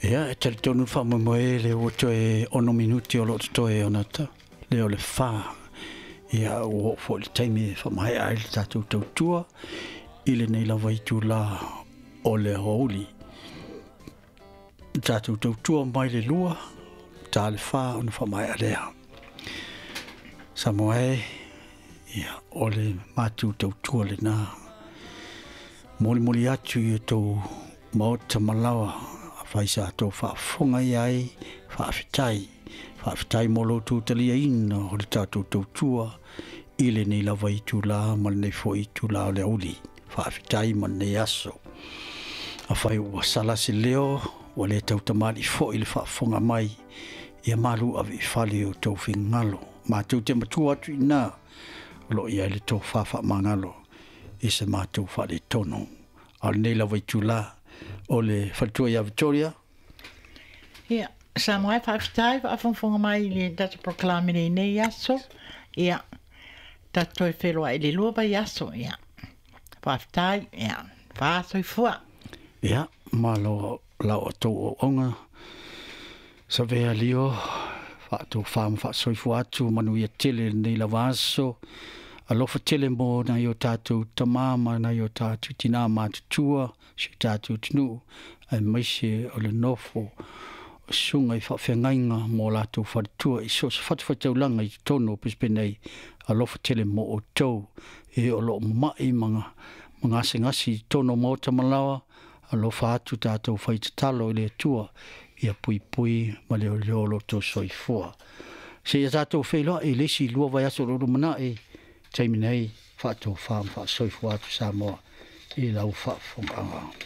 Ia, e talitonu le faamoemoe lea ua toe 6 minute o lo o totoe ona lea o le 4. Ia, ua oo foi le taimi e faamaea ai le tatou tautua i lenei lava itula o le aoauli. Le tatou tautua mai le 2, ta le 4 ona faamaea lea. Samoa e, ia, o le matou tautua lena. Molimoli atu i o tou maota malawa, afai sa tou faafofoga i ai, faafetai. Faafetai mo lo outou taliaina o le tatou tautua i lenei lava itula ma lenei foi itula o le aoauli. Faafetai ma lenei aso. Afai ua sala se leo, ua le tautamalii foi le faafofoga mai, ia malu ave i fale o tou finagalo. Matou te matua atu i ina, o lo o i ai le tofa faamagalo i se matou faaletonu. A o lenei lava itula, o le faletua ia Victoria. Ia, Samoa e faafetai faafogafoga mai i le tatou polokalame i lenei aso. Ia, tatou toe feiloai i le 2 vaiaso. Ia, faafetai. Ia, faasoifua. Ia, malo lau outou auauna. Savea lio, faatofa ma faasoifua atu, manuia tele lenei lava aso. Alofa tele mo nai o tatou tama ma nai o tatou tina matutua, si o tatou atunuu, aemaise o le nofo o susuga i faafeagaiga mo latou faletua i so o se fatafaitaulaga i totonu o Brisbane nei. Alofa tele mo outou e o lo o mamai ma gasegase i totonu o maota malawa. Alofa atu tatou faitatalo i le Atua ia puipui ma leoleo lo outou soifua. Seia tatou feiloai i le isi 2 vaiaso o lo o lumanai, taimi nei, faatofa ma faasoifua atu Samoa i lau faafofogaaga.